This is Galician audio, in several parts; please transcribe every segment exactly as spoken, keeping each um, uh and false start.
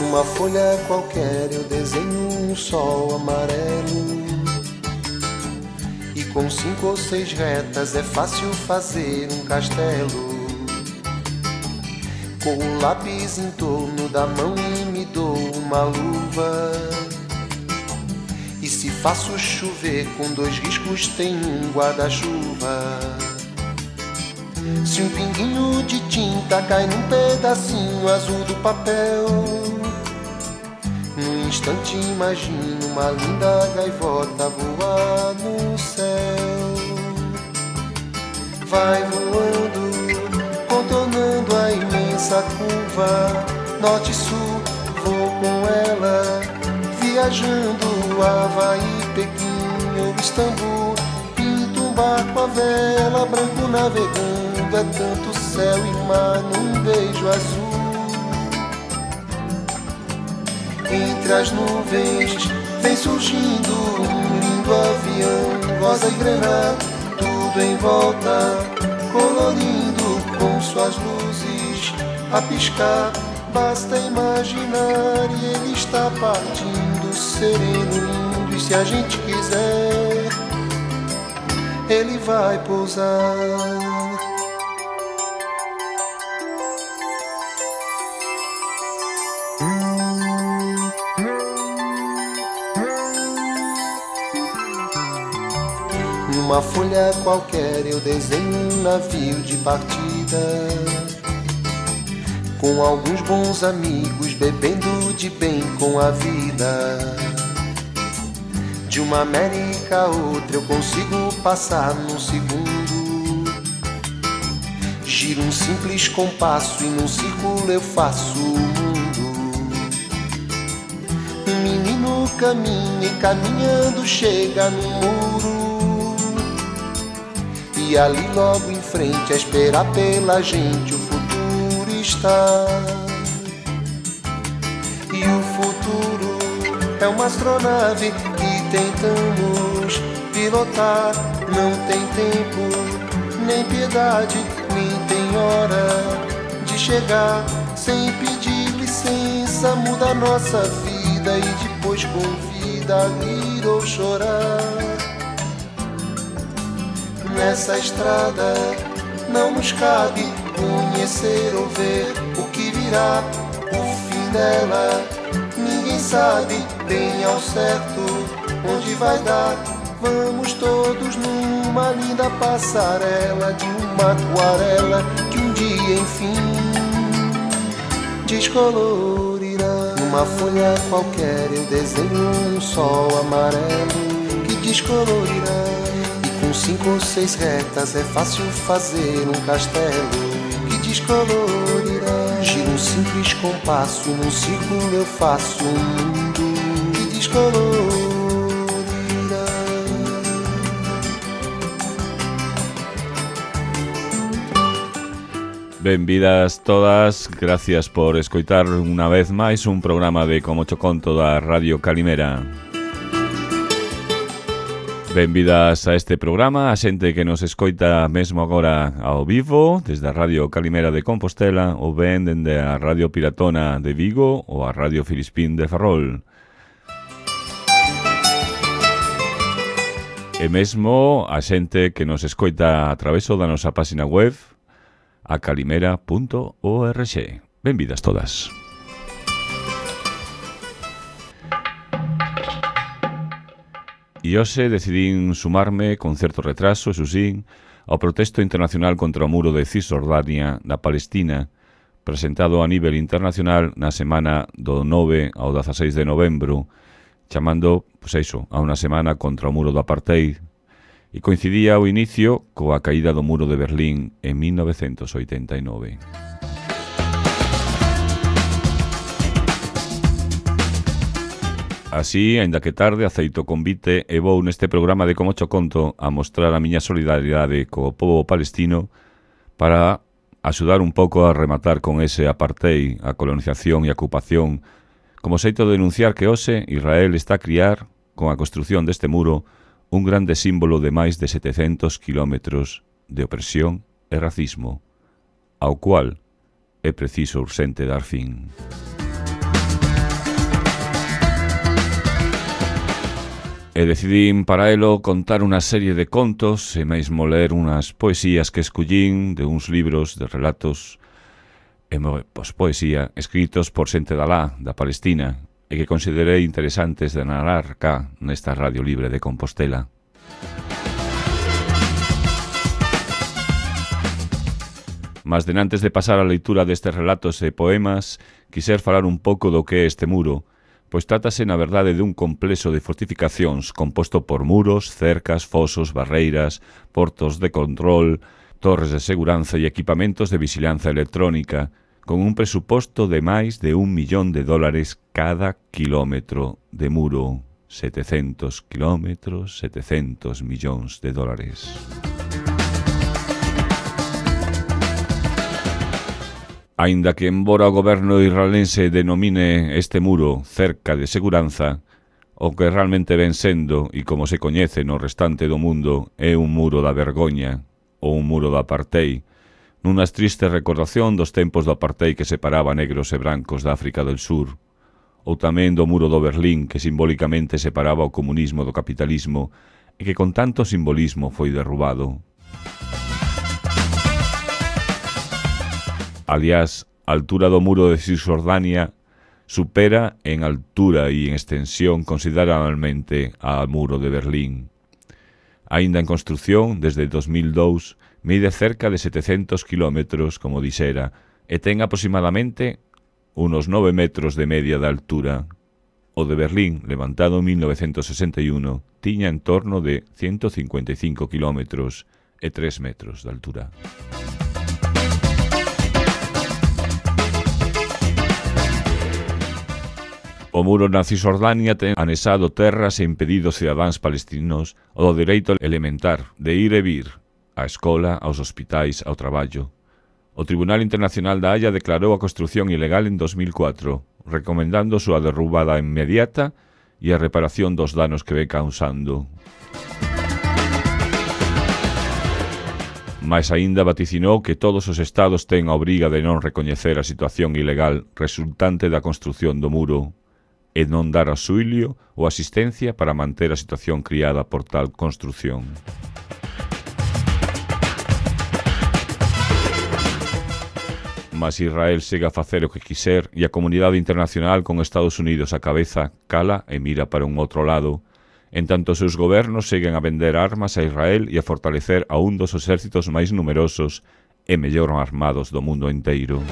Numa folha qualquer eu desenho um sol amarelo, e com cinco ou seis retas é fácil fazer um castelo. Com o lápis em torno da mão e me dou uma luva, e se faço chover com dois riscos tem um guarda-chuva. Se um pinguinho de tinta cai num pedacinho azul do papel, num instante imagino uma linda gaivota voar no céu. Vai voando, contornando a imensa curva, norte e sul, vou com ela, viajando Havaí, Pequim ou Istambul. Pinto um barco à vela, branco navegando, é tanto céu e mar num beijo azul. Entre as nuvens vem surgindo um lindo avião, rosa e grená, tudo em volta, colorindo com suas luzes a piscar. Basta imaginar e ele está partindo, sereno, lindo, e se a gente quiser, ele vai pousar. Numa folha qualquer eu desenho um navio de partida, com alguns bons amigos bebendo de bem com a vida. De uma América a outra eu consigo passar num segundo. Giro um simples compasso e num círculo eu faço o mundo. Um menino caminha e caminhando chega no muro, e ali logo em frente a esperar pela gente o futuro está. E o futuro é uma astronave que tentamos pilotar. Não tem tempo, nem piedade, nem tem hora de chegar. Sem pedir licença muda a nossa vida e depois convida a rir ou chorar. Nessa estrada não nos cabe conhecer ou ver o que virá, o fim dela. Ninguém sabe bem ao certo onde vai dar. Vamos todos numa linda passarela de uma aquarela que um dia enfim descolorirá. Numa folha qualquer eu desenho um sol amarelo que descolorirá. Com cinco ou seis retas é fácil fazer um castelo que descolorirá. Giro um simples compasso e num círculo eu faço um mundo que descolorirá. Benvidas todas, gracias por escoitar unha vez máis un programa de Como Cho Conto da Radio Calimera. Benvidas a este programa, a xente que nos escoita mesmo agora ao vivo desde a Radio Calimera de Compostela ou ben dende a Radio Piratona de Vigo ou a Radio Filispín de Ferrol. E mesmo a xente que nos escoita a traveso da nosa página web a calimera punto org. Benvidas todas. E hoxe decidín sumarme con certo retraso, eso sí, ao protesto internacional contra o muro de Cisjordania da Palestina, presentado a nivel internacional na semana do nove ao dezaseis de novembro, chamando, pois iso, a unha semana contra o muro do apartheid, e coincidía o inicio coa caída do muro de Berlín en mil novecentos oitenta e nove. Así, aínda que tarde, aceito o convite e vou neste programa de Como Cho Conto a mostrar a miña solidaridade co pobo palestino para axudar un pouco a rematar con ese apartheid, a colonización e a ocupación, como xeito de denunciar que hoxe Israel está a criar, con a construción deste muro, un grande símbolo de máis de setecentos kilómetros de opresión e racismo, ao cual é preciso urxente dar fin. E decidín para elo contar unha serie de contos e mesmo ler unhas poesías que escollín de uns libros de relatos e pois, poesía escritos por xente da lá, da Palestina, e que considerei interesantes de narrar cá nesta Radio Libre de Compostela. Mas denantes de pasar a leitura destes relatos e poemas, quiser falar un pouco do que é este muro, pois trátase na verdade dun complexo de fortificacións composto por muros, cercas, fosos, barreiras, portos de control, torres de seguranza e equipamentos de vixilanza electrónica, con un presuposto de máis de un millón de dólares cada kilómetro de muro. setecentos kilómetros, setecentos millóns de dólares. Aínda que embora o goberno israelense denomine este muro cerca de seguranza, o que realmente ven sendo, e como se coñece no restante do mundo, é un muro da vergoña, ou un muro da apartheid, nunha triste recordación dos tempos do apartheid que separaba negros e brancos da África del Sur, ou tamén do muro do Berlín que simbólicamente separaba o comunismo do capitalismo e que con tanto simbolismo foi derrubado. Aliás, a altura do muro de Cisjordania supera en altura e en extensión considerablemente ao muro de Berlín. Aínda en construción, desde dos mil dous, mide cerca de setecentos kilómetros, como dixera, e ten aproximadamente unos nove metros de media de altura. O de Berlín, levantado en mil novecentos sesenta e un, tiña en torno de ciento cincuenta e cinco kilómetros e tres metros de altura. O muro na Cisjordania ten anexado terras e impedido aos cidadáns palestinos o dereito elementar de ir e vir á escola, aos hospitais, ao traballo. O Tribunal Internacional da Haia declarou a construción ilegal en dos mil catro, recomendando a súa derrubada inmediata e a reparación dos danos que ve causando. Mais aínda vaticinou que todos os estados ten a obriga de non recoñecer a situación ilegal resultante da construción do muro e non dar auxilio ou asistencia para manter a situación criada por tal construción. Mas Israel segue a facer o que quiser e a comunidade internacional con Estados Unidos á cabeza cala e mira para un outro lado, en tanto os seus gobernos seguen a vender armas a Israel e a fortalecer a un dos exércitos máis numerosos e mellor armados do mundo inteiro.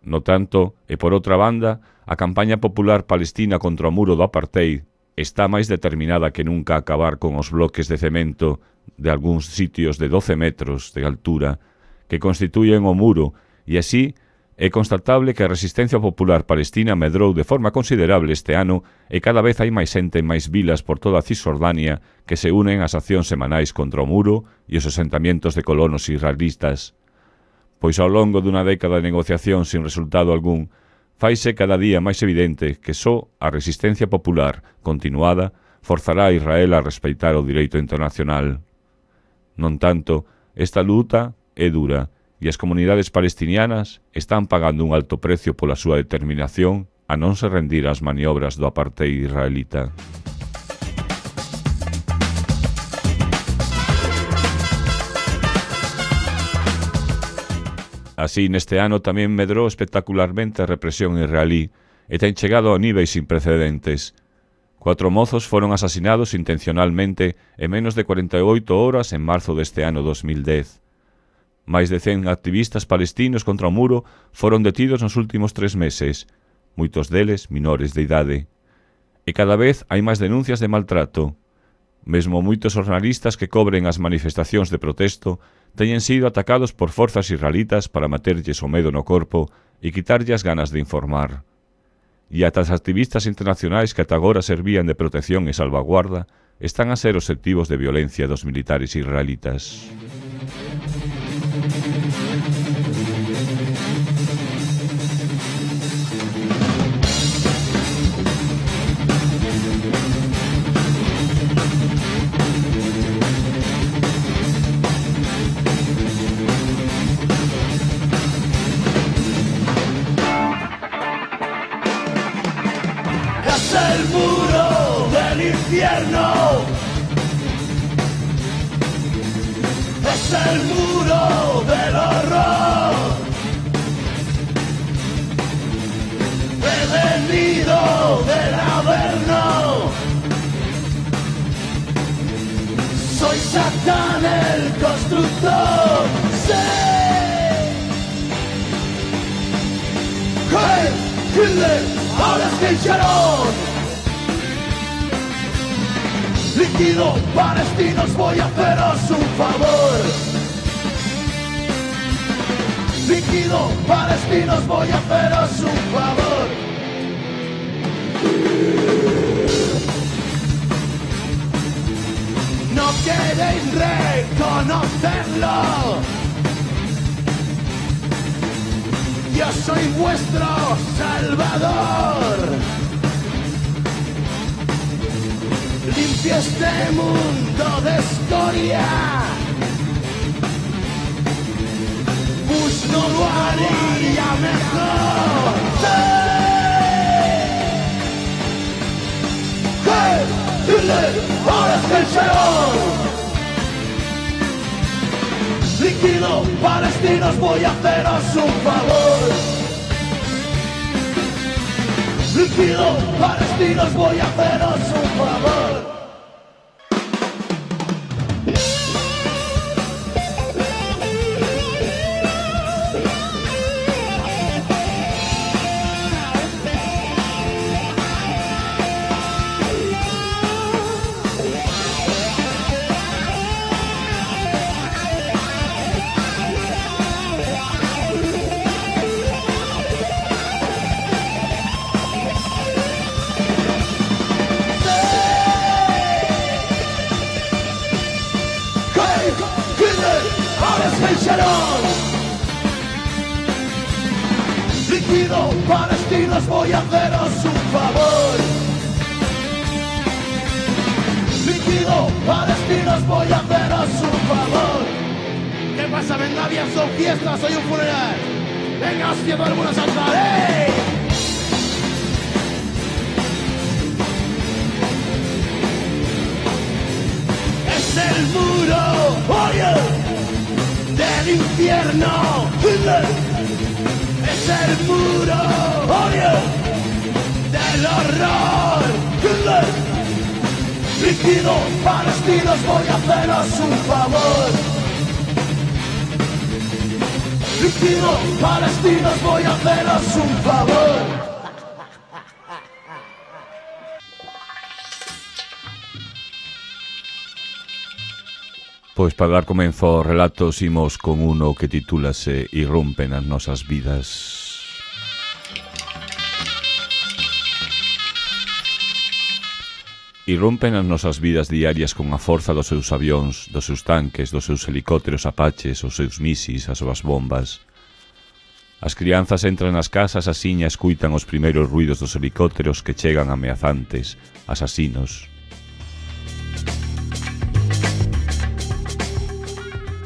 No tanto, e por outra banda, a campaña popular palestina contra o muro do apartheid está máis determinada que nunca a acabar con os bloques de cemento de algúns sitios de doce metros de altura que constituyen o muro, e así é constatable que a resistencia popular palestina medrou de forma considerable este ano e cada vez hai máis xente en máis vilas por toda a Cisjordania que se unen ás accións semanais contra o muro e os asentamientos de colonos israelitas. Pois ao longo dunha década de negociación sin resultado algún, faise cada día máis evidente que só a resistencia popular continuada forzará a Israel a respeitar o direito internacional. Non tanto, esta luta é dura e as comunidades palestinianas están pagando un alto precio pola súa determinación a non se rendir ás maniobras do apartheid israelita. Así, neste ano tamén medrou espectacularmente a represión israelí e ten chegado a níveis sin precedentes. Cuatro mozos foron asasinados intencionalmente en menos de cuarenta e oito horas en marzo deste ano dos mil dez. Máis de cen activistas palestinos contra o muro foron detidos nos últimos tres meses, moitos deles menores de idade. E cada vez hai máis denuncias de maltrato. Mesmo moitos xornalistas que cobren as manifestacións de protesto teñen sido atacados por forzas israelitas para meterlles o medo no corpo e quitarlle as ganas de informar. E ata as activistas internacionais que ata agora servían de protección e salvaguarda están a ser obxectivos de violencia dos militares israelitas. Es el muro del horror. He venido del Averno. Soy Satán el constructor. ¡Sí! ¡Hey! ¡Hitler! ¡Ahora es que Sharon! Líquido palestinos, voy a haceros un favor. Líquido palestinos, voy a haceros un favor. No queréis reconocerlo. Yo soy vuestro salvador. Limpia este mundo de escoria. Bush no lo haría mejor. ¡Sí! ¡Hey! ¡Hitler! ¡Ahora es el Sharon! Líquido palestinos, voy a haceros un favor. Líquido palestinos, voy a haceros un favor. Líquido palestinos, voy a haceros un favor. Líquido palestinos, voy a haceros un favor. ¿Qué pasa? Venga bien, son fiestas, soy un funeral. Venga, hostia, todo el mundo a saltar, ¡eh! Es el muro, oye, del infierno. Es el muro, oye, del horror. Líquido palestinos, voy a haceros un favor. Líquido palestinos, voy a haceros un favor. Pois para dar comenzo ao relato imos con uno que titúlase Irrompen as nosas vidas. Irrompen as nosas vidas diarias con a forza dos seus avións, dos seus tanques, dos seus helicópteros apaches, os seus misis, as súas bombas. As crianzas entran nas casas asiña e escuitan os primeiros ruidos dos helicópteros que chegan ameazantes, asasinos.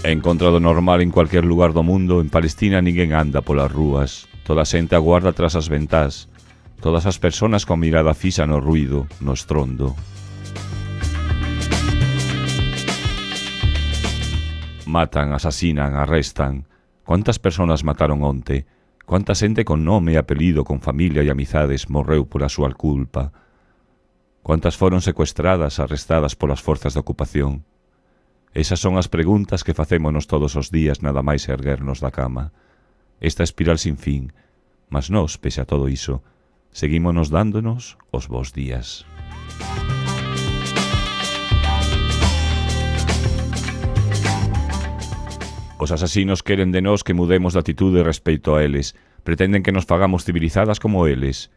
En contra do normal en cualquier lugar do mundo, en Palestina ninguén anda polas rúas, toda a xente aguarda tras as ventás, todas as persoas con mirada fixa no ruido, no estrondo. Matan, asasinan, arrestan. Cuántas persoas mataron onte? Cuánta xente con nome e apelido, con familia e amizades morreu pola súa culpa? Cuántas foron secuestradas, arrestadas polas forzas de ocupación? Esas son as preguntas que facémonos todos os días nada máis erguernos da cama. Esta espiral sin fin, mas nós, pese a todo iso, seguímonos dándonos os bons días. Os asasinos queren de nós que mudemos de atitude respecto a eles, pretenden que nos fagamos civilizadas como eles.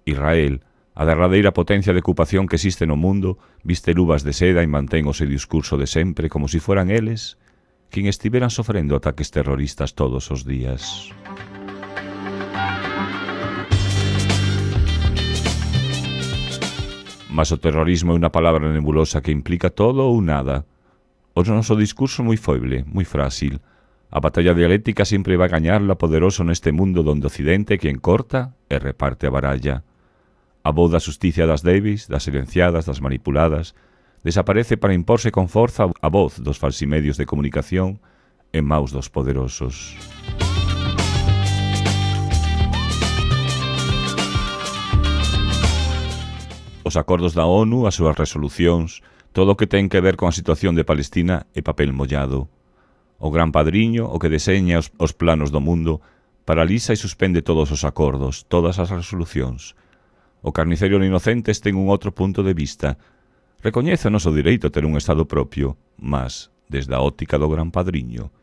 Israel, a derradeira potencia de ocupación que existe no mundo, viste luvas de seda e mantén o seu discurso de sempre como si fueran eles quen estiveran sofrendo ataques terroristas todos os días. Mas o terrorismo é unha palabra nebulosa que implica todo ou nada. O noso discurso moi foible, moi frágil. A batalla dialéctica sempre vai gañarla poderoso neste mundo donde Occidente quen corta e reparte a baralla. A voz da xusticia das débiles, das silenciadas, das manipuladas, desaparece para imporse con forza a voz dos falsimedios de comunicación en maus dos poderosos. Os acordos da ONU, as súas resolucións, todo o que ten que ver con a situación de Palestina é papel mollado. O gran padriño, o que deseña os, os planos do mundo, paraliza e suspende todos os acordos, todas as resolucións. O carnicero inocentes ten un outro punto de vista. Recoñece o noso direito a ter un Estado propio, mas, desde a óptica do gran padriño,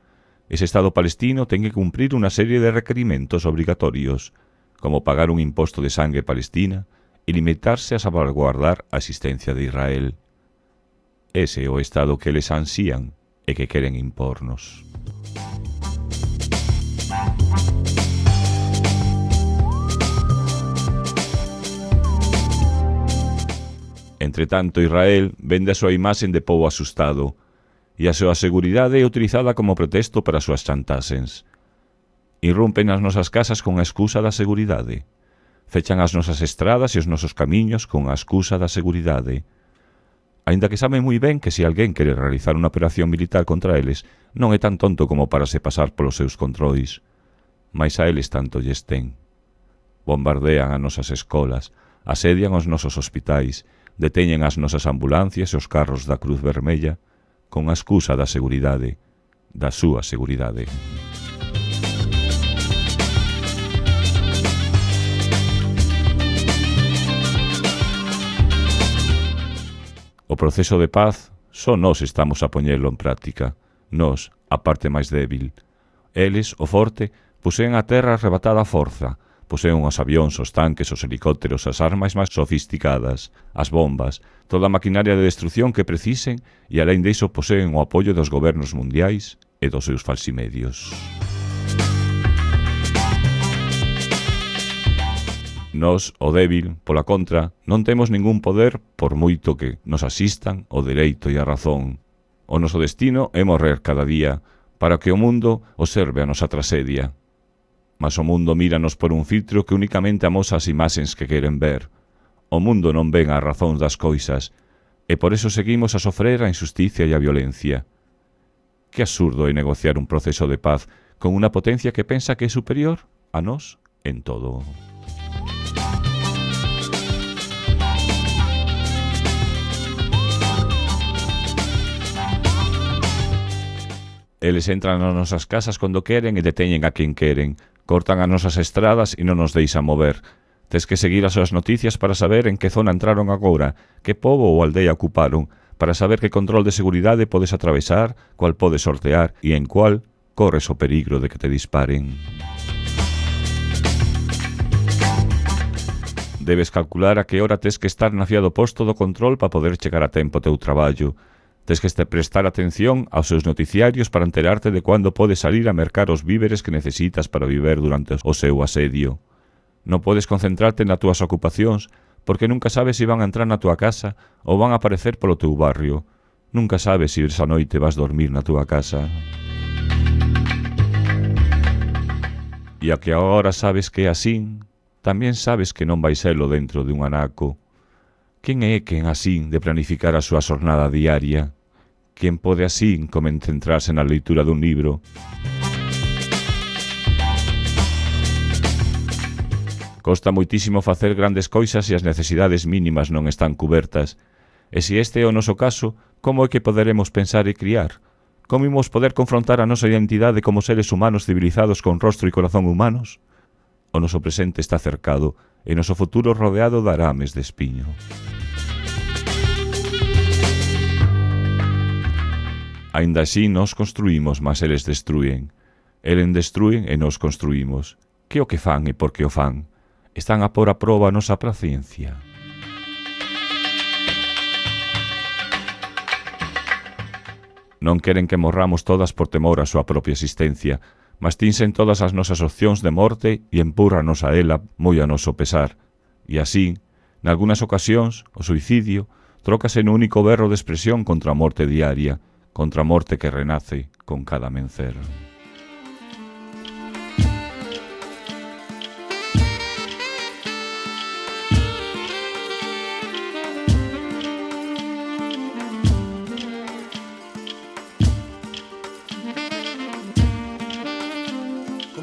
ese Estado palestino ten que cumprir unha serie de requerimentos obrigatorios, como pagar un imposto de sangue palestina e limitarse a salvaguardar a existencia de Israel. Ese é o Estado que eles ansían e que queren impornos. Entretanto, Israel vende a súa imaxen de pobo asustado e a súa seguridade é utilizada como pretexto para as súas chantaxes. Irrumpen as nosas casas con a excusa da seguridade. Fechan as nosas estradas e os nosos camiños con a excusa da seguridade. Aínda que saben moi ben que se alguén quere realizar unha operación militar contra eles, non é tan tonto como para se pasar polos seus controis. Mais a eles tanto lles ten. Bombardean as nosas escolas, asedian os nosos hospitais, deteñen as nosas ambulancias e os carros da Cruz Vermella con a excusa da seguridade, da súa seguridade. O proceso de paz só nós estamos a poñelo en práctica. Nós, a parte máis débil. Eles, o forte, poseen a terra arrebatada a forza, poseen os avións, os tanques, os helicópteros, as armas máis sofisticadas, as bombas, toda a maquinaria de destrucción que precisen e alén diso poseen o apoio dos gobernos mundiais e dos seus falsimedios. Nós, o débil, pola contra, non temos ningún poder por moito que nos asistan o dereito e a razón. O noso destino é morrer cada día para que o mundo observe a nosa tragedia. Mas o mundo míranos por un filtro que únicamente amosa as imaxes que queren ver. O mundo non ven as razóns das coisas e por eso seguimos a sofrer a injusticia e a violencia. Que absurdo é negociar un proceso de paz con unha potencia que pensa que é superior a nós en todo. Eles entran nas nosas casas cando queren e deteñen a quen queren, cortan as nosas estradas e non nos deixan mover. Tes que seguir as súas noticias para saber en que zona entraron agora, que pobo ou aldea ocuparon, para saber que control de seguridade podes atravesar, cual podes sortear e en cual corres o peligro de que te disparen. Debes calcular a que hora tes que estar na fía do posto do control para poder chegar a tempo ao teu traballo. Tes que prestar atención aos seus noticiarios para enterarte de cando podes salir a mercar os víveres que necesitas para viver durante o seu asedio. Non podes concentrarte nas túas ocupacións porque nunca sabes se van a entrar na túa casa ou van a aparecer polo teu barrio. Nunca sabes se esa noite vas dormir na túa casa. E a que agora sabes que é así, tamén sabes que non vai selo dentro de un anaco. Quen é quen así de planificar a súa xornada diaria? Quen pode así concentrarse na leitura dun libro? Costa moitísimo facer grandes coisas e as necesidades mínimas non están cubertas. E se este é o noso caso, como é que poderemos pensar e criar? Como imos poder confrontar a nosa identidade como seres humanos civilizados con rostro e corazón humanos? O noso presente está cercado e o noso futuro rodeado de arames de espiño. Ainda así nos construímos, mas eles destruen. Eles destruen e nos construímos. Que o que fan e por que o fan? Están a pôr a proba a nosa paciencia. Non queren que morramos todas por temor á súa propia existencia, mas tinsen todas as nosas opcións de morte e empurranos a ela moi a noso pesar. E así, nalgúnas ocasións, o suicidio trócase no único berro de expresión contra a morte diaria, contra a morte que renace con cada amencer.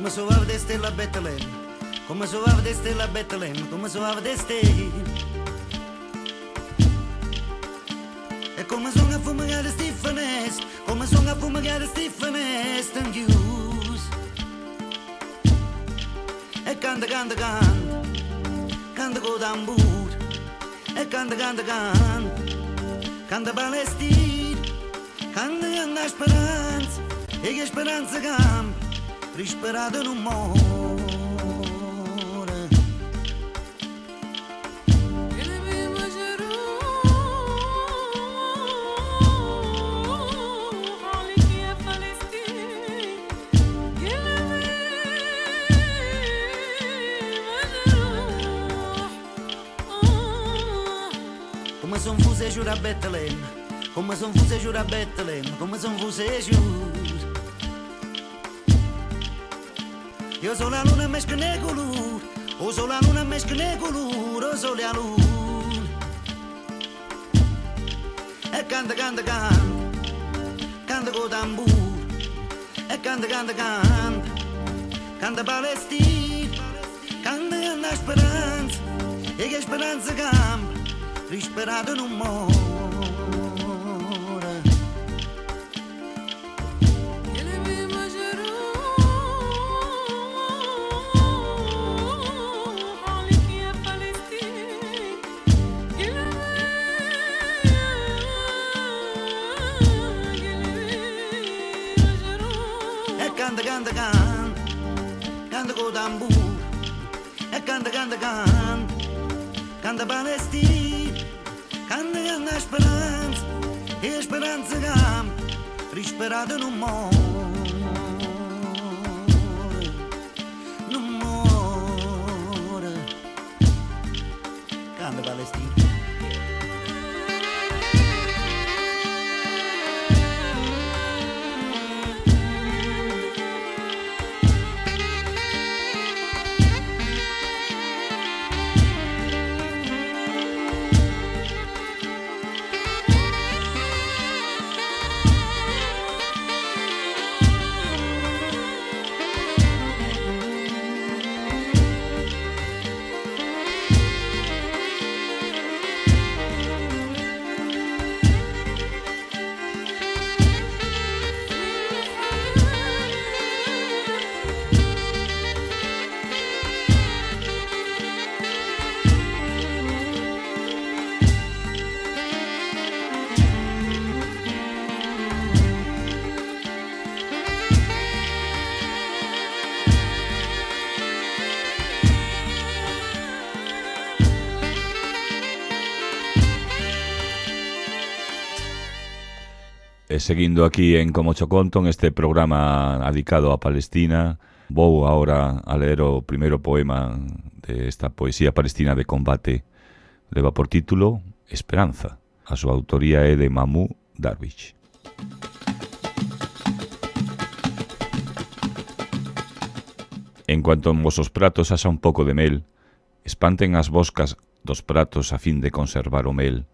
Come soave deste la Betlem, come soave deste la Betlem, come soave deste. E come sono a fumare Stephanes, come sono a fumare Stephanes, and use. E canta, canta, canta, canta con tambur. E canta, canta, canta, canta Palestina, canta na speranza, e che speranza campa. Risperado non muore. Come son fuse giura a Betlem, come son fuse giura a Betlem, come son fuse giura. Io sono la luna més que ne color, o sono la luna més que ne color, o sono la luna. E canta, canta, canta, canta con tambur. E canta, canta, canta, canta Palestina, canta la speranza, e che speranza campa, risperato non muore. Canta, canta, canta, canta con tambur. E canta, canta, canta, canta Palestina, canta la speranza, e speranza campa, risperato non muore, non muore. Canta Palestina. E seguindo aquí en Como Cho Conto, en este programa dedicado a Palestina, vou agora a ler o primeiro poema desta poesía palestina de combate. Leva por título Esperanza. A súa autoría é de Mahmoud Darwish. En cuanto en vosos pratos haxa un pouco de mel, espanten as boscas dos pratos a fin de conservar o mel.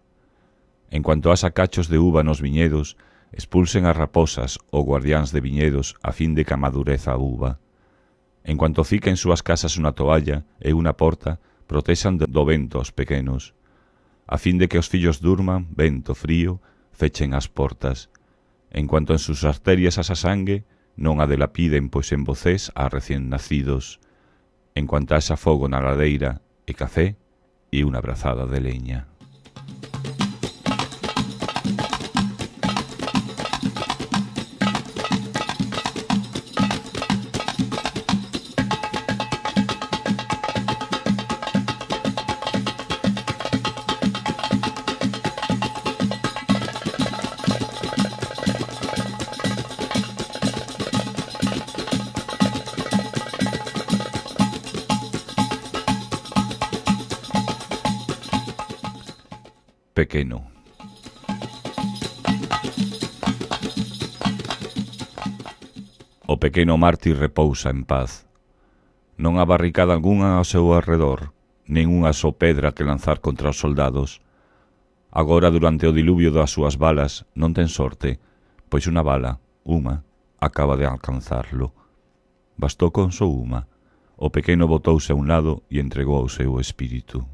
En cuanto haxa cachos de uva nos viñedos, expulsen as raposas ou guardiáns de viñedos a fin de que amadureza a uva. En cuanto fica en súas casas unha toalla e unha porta, protexan do vento os pequenos. A fin de que os fillos durman, vento frío, fechen as portas. En cuanto en sus arterias haxa sangue, non a delapiden, pois en vocés a recién nacidos. En cuanto haxa fogo na ladeira e café, e unha brazada de leña. Pequeno. O pequeno mártir repousa en paz. Non há barricada algunha ao seu arredor, nin unha só pedra que lanzar contra os soldados. Agora, durante o diluvio das súas balas, non ten sorte, pois unha bala, unha, acaba de alcanzarlo. Bastou con só unha. O pequeno botouse a un lado e entregou o seu espírito.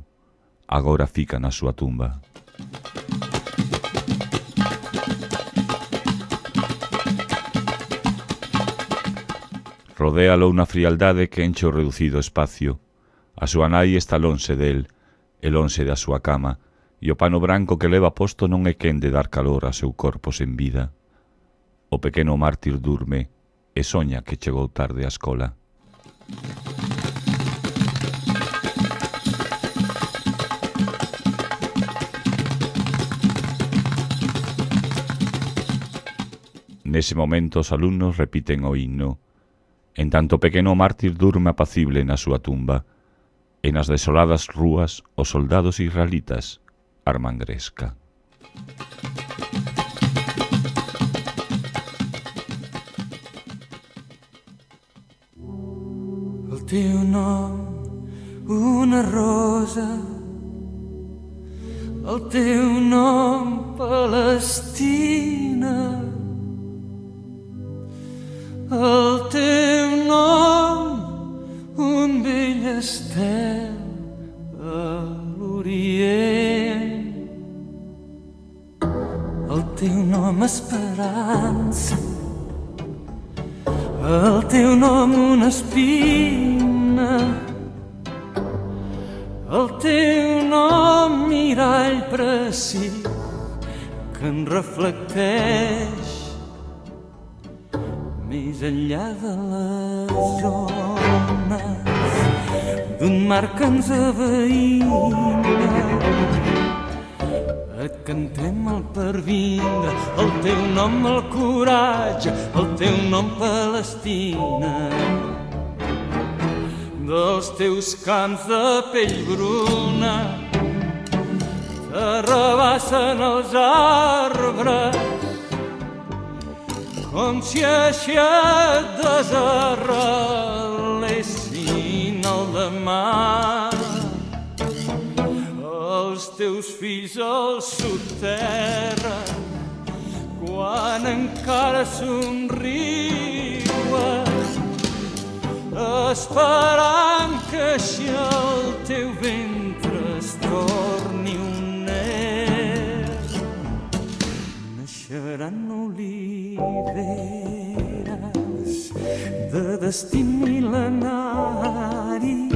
Agora fica na súa tumba. Rodéalo unha frialdade que enche o reducido espacio. A súa nai está lonxe del, e lonxe da súa cama, e o pano branco que leva posto non é quen de dar calor a seu corpo sen vida. O pequeno mártir durme e soña que chegou tarde á escola. Nese momento os alumnos repiten o himno. En tanto o pequeno mártir durme apacible na súa tumba, e nas desoladas rúas os soldados israelitas arman gresca. El teu nom, una rosa, el teu nom, Palestina, el teu nom, un vell estel a l'Orient. El teu nom, esperança, el teu nom, una espina, el teu nom, mirall precís que en reflecteix més enllà de les ones d'un mar que ens aveïna. Et cantem el pervindre, el teu nom, el coratge, el teu nom, Palestina. Dels teus camps de pell bruna t'arrabassen els arbres com si així et desarrelessin el demà. Els teus fills al soterren quan encara somriuen, esperant que així el teu ventre es torni un ner. Naixeran oliveres de destí mil·lenari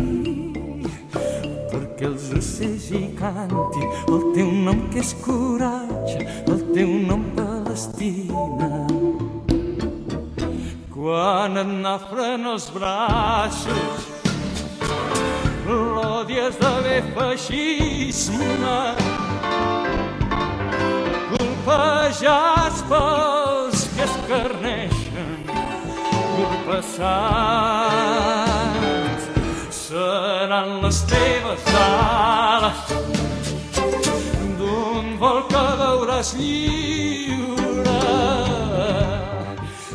perquè els ocells hi cantin el teu nom que és coratge, el teu nom, Palestina. Quan et nafren els braços, l'odies d'haver feixisme, colpejats pels que escarneixen llur passat. Seran les teves ales d'un vol que veuràs lliure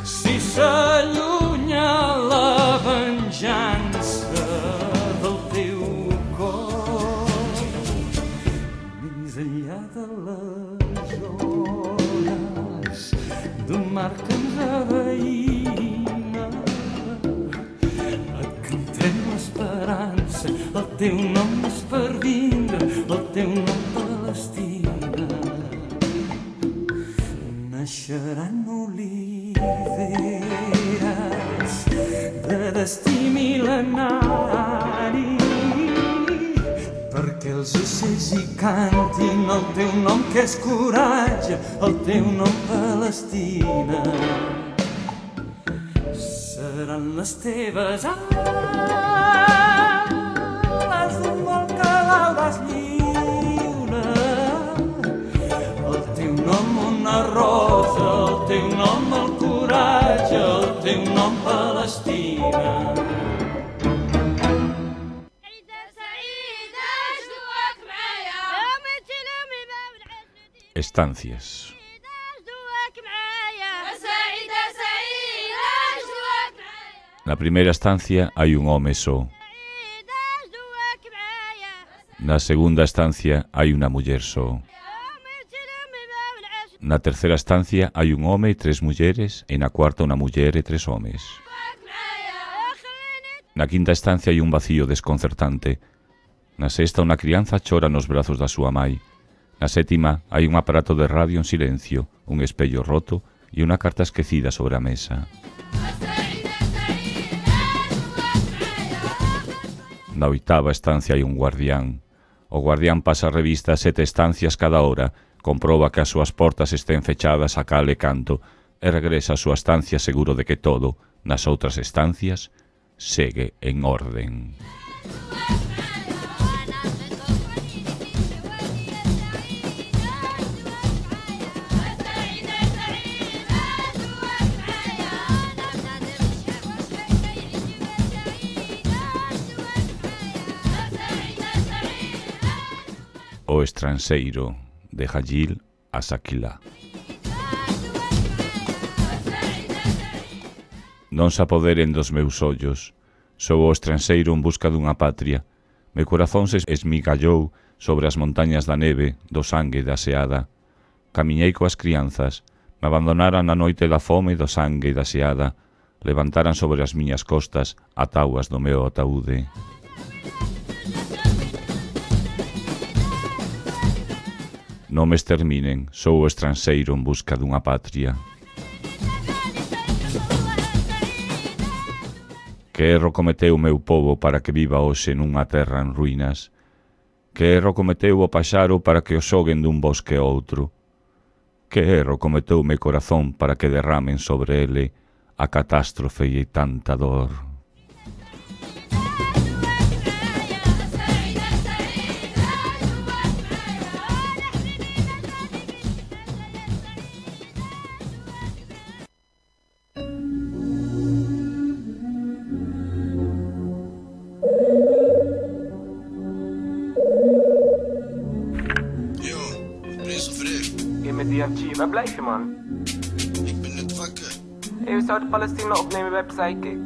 si s'allunya la venjança del teu cor. Més enllà de les ones d'un mar que ens aveïna, et cantem l'esperança, el teu nom és per vindre, el teu nom, Palestina. Naixeran oliveres de destí mil·lenari perquè els ocells hi cantin el teu nom que és coratge, el teu nom, Palestina. Seran les teves ales d'un vol que veuràs lliure, el teu nom, una rosa, el teu nom, el coratge, el teu nom, Palestina. Estancias. Na primeira estancia hai un home só. Na segunda estancia hai unha muller só. Na terceira estancia hai un home e tres mulleres e na cuarta unha muller e tres homes. Na quinta estancia hai un vacío desconcertante. Na sexta, unha crianza chora nos brazos da súa mai. Na sétima, hai un aparato de radio en silencio, un espello roto e unha carta esquecida sobre a mesa. Na oitava estancia hai un guardián. O guardián pasa a revista a sete estancias cada hora, comproba que as súas portas estén fechadas a cal e canto e regresa á súa estancia seguro de que todo, nas outras estancias, segue en orden. O estranxeiro, de Jalil Asakila. Non se apoderen dos meus ollos, sou o estranxeiro en busca dunha patria. Meu corazón se esmigallou sobre as montañas da neve, do sangue da seada. Camiñei coas crianzas, me abandonaran na noite da fome, do sangue e da seada, levantaran sobre as miñas costas a tauas do meu ataúde. Non me exterminen, sou o estranxeiro en busca dunha patria. Que erro cometeu o meu povo para que viva hoxe nunha terra en ruínas? Que erro cometeu o paxaro para que o xoguen dun bosque a outro? Que erro cometeu o meu corazón para que derramen sobre ele a catástrofe e tanta dor? Waar blijf je, man? Ik ben net wakker. Hey, we zouden Palestina opnemen bij Psychic.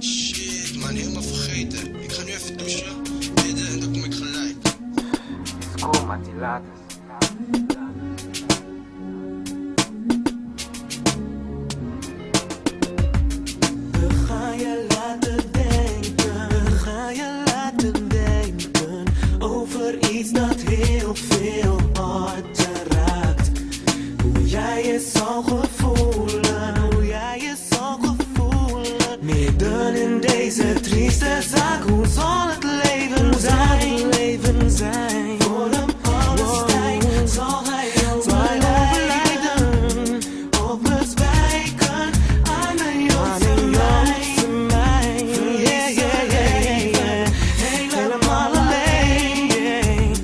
Shit, man, helemaal vergeten. Ik ga nu even douchen, bidden en dan kom ik gelijk. Is cool, Mattie, laat eens. We gaan je laten denken, we gaan je laten denken over iets dat heel veel harten raakt. Hoe jij je zal gevoelen, hoe jij je zal gevoelen. Midden in deze trieste zaak, hoe zal het leven zijn? Leven zijn voor een Palestijn. Zal hij jou overlijden of bezwijken aan een Joodse mijn? Yeah, yeah, yeah, yeah. Helemaal alleen.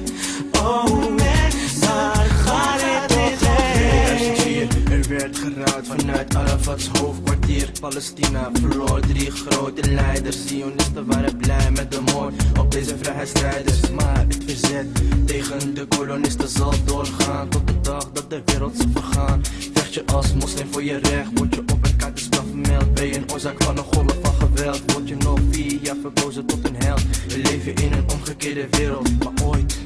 Oh, maar ga dit toch heen? Er werd geruid vanuit Arafat's hoofdkwartier. Palestina verloor drie grote leiders. Zionisten waren blij met de moord op deze vrijheidsstrijders. Maar het verzet tegen de kolonisten zal doorgaan tot de dag dat de wereld zal vergaan. Vecht je als moslim voor je recht, word je op een kaartenspel vermeld. Ben je een oorzaak van een golf van geweld, word je nog vier jaar verkozen tot een held. We leven in een omgekeerde wereld, maar ooit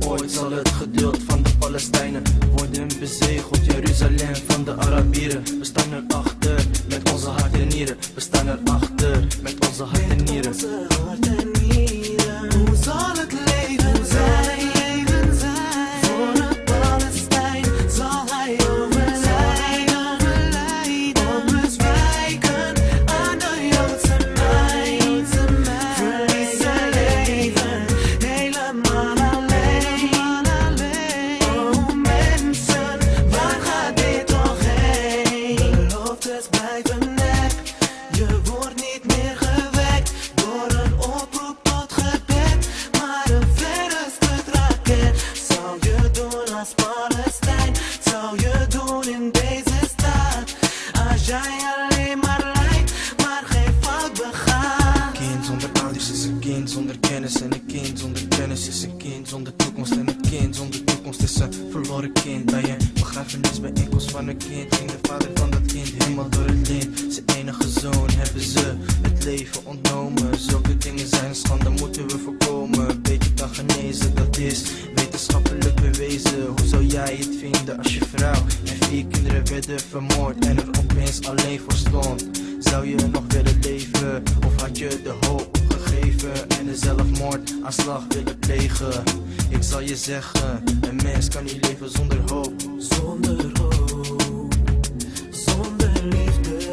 Ooit zal het geduld van de Palestijnen worden bezegeld. Jeruzalem van de Arabieren. We staan erachter met onze hart en nieren. We staan erachter met onze hart en nieren. Hoe zal het leven zijn? Leven zijn voor een Palestijn? Zal hij overlijden of bezwijken aan de Joodse mijn? Verlies zijn leven helemaal alleen. Oh mensen, waar gaat dit toch heen? Beloftes blijven nep, je wordt niet meer gewekt door een oproep tot gebed, maar een verre skutraket. Zou je doen als Palestijn? Zou je doen in deze staat? Als jij alleen maar lijkt, maar geen fout begaat. Kind zonder ouders is een kind zonder kennis. En een kind zonder kennis is een kind zonder toekomst. En een kind zonder toekomst is een verloren kind. Bij een begrafenisbijeenkomst van een kind ging de vader van dat kind helemaal door het lint. Zijn enige zoon hebben ze het leven ontnomen. Zulke dingen zijn schande, moeten we voorkomen. Beetje kan genezen, dat is wetenschappelijk bewezen. Hoe zou jij het vinden als je vrouw en vier kinderen werden vermoord en er opeens alleen voor stond? Zou je nog willen leven leven? Of had je de hoop gegeven en de zelfmoordaanslag willen plegen? Ik zal je zeggen, een mens kan niet leven zonder hoop. Zonder hoop, zonder liefde,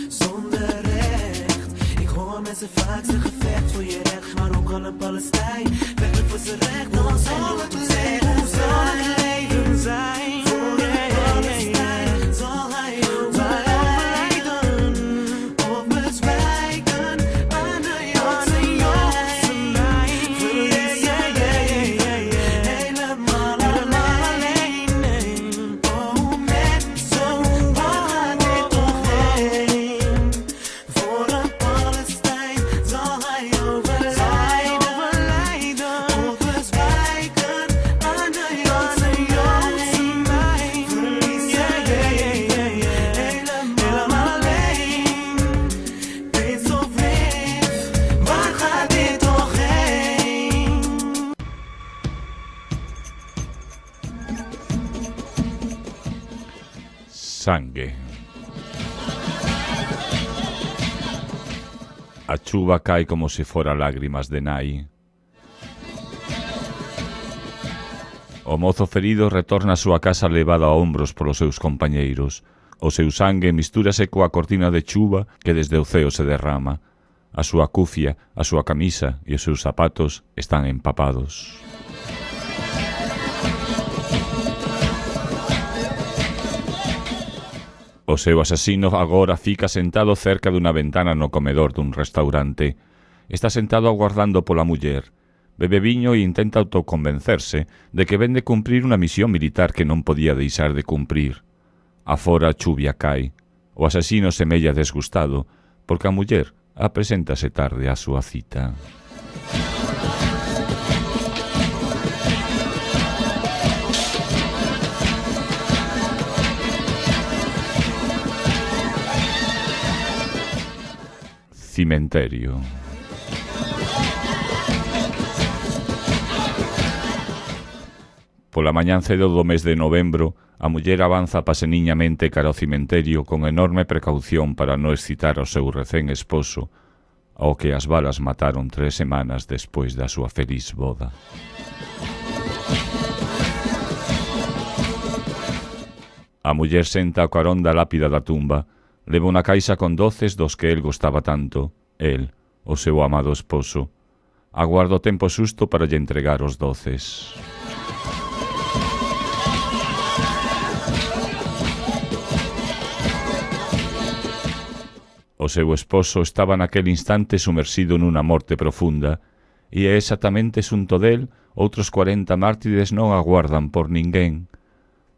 zonder recht. Ik hoor mensen vaak zeggen vecht voor je recht, maar hoe kan een Palestijn vechten voor zijn recht? Dan zal het leven, hoe zal het leven zijn? Voor een Palestijn zal hij overlijden of bezwijken aan de Joodse lijn. Verlies jij helemaal alleen. Oh mensen, waar gaat dit toch heen? Voor een Palestijn zal hij overlijden of bezwijken aan de Joodse lijn. Verlies jij helemaal alleen. Wees of lief, waar gaat dit toch heen? Sangue. A chuva cae como se fora lágrimas de nai. O mozo ferido retorna á súa casa levado a hombros polos seus compañeiros. O seu sangue mistúrase coa cortina de chuva que desde o ceo se derrama. A súa cufia, a súa camisa e os seus zapatos están empapados. O seu asasino agora fica sentado cerca dunha ventana no comedor dun restaurante. Está sentado aguardando pola muller. Bebe viño e intenta autoconvencerse de que ven de cumprir unha misión militar que non podía deixar de cumprir. Afora a chuvia cae. O asasino semella desgustado porque a muller apreséntase tarde á súa cita. Cimenterio. Pola mañán cedo do mes de novembro, a muller avanza paseniñamente cara ao cimenterio con enorme precaución para non excitar ao seu recén esposo, ao que as balas mataron tres semanas despois da súa feliz boda. A muller senta ao carón da lápida da tumba, leva unha caixa con doces dos que el gostaba tanto, el, o seu amado esposo. Aguarda o tempo xusto para lle entregar os doces. O seu esposo estaba naquel instante sumersido nunha morte profunda, e é exactamente xunto del outros cuarenta mártires non aguardan por ninguén,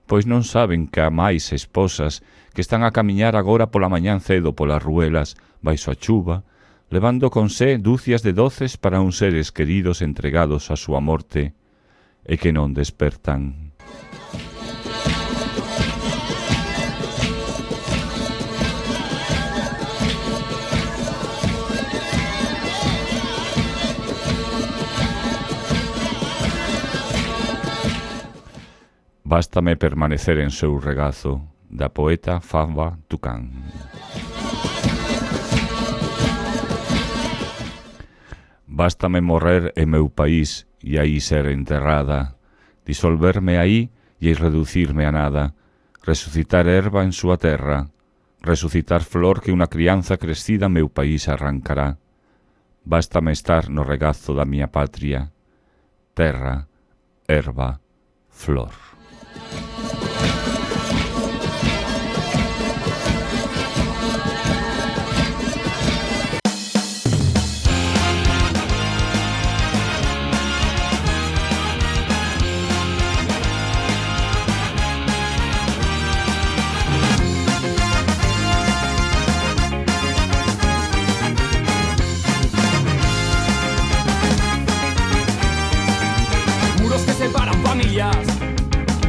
pois non saben que há máis esposas que están a camiñar agora pola mañán cedo polas ruelas, baixo a chuva, levando con sé dúcias de doces para uns seres queridos entregados á súa morte e que non despertan. Bástame permanecer en seu regazo, da poeta Fava Tucán. Bástame morrer en meu país e aí ser enterrada, disolverme aí e reducirme a nada, resucitar erva en súa terra, resucitar flor que unha crianza crecida meu país arrancará. Bástame estar no regazo da miña patria, terra, erva, flor.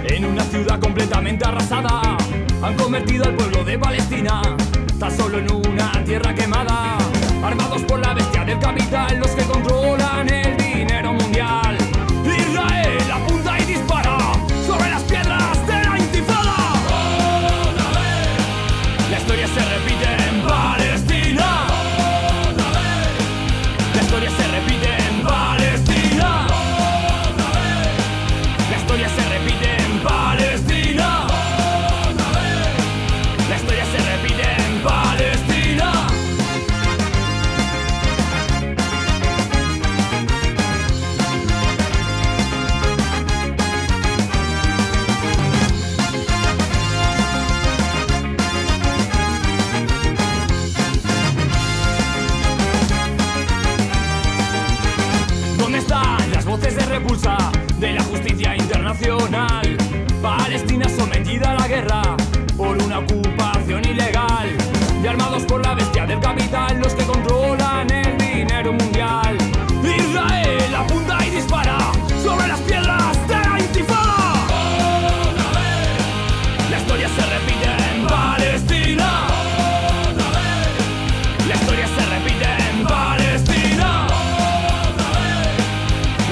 En una ciudad completamente arrasada han convertido al pueblo de Palestina tan solo en una tierra quemada, armados por la bestia del capital, los que controlan el dinero mundial. Israel apunta y dispara sobre las piedras de la intifada. Otra vez la historia se repite en Palestina. nacional. Palestina sometida a la guerra por una ocupación ilegal. Y armados por la bestia del capital, los que controlan el dinero mundial. Israel apunta y dispara sobre las piedras de la intifada. La historia se repite en Palestina. La historia se repite en Palestina.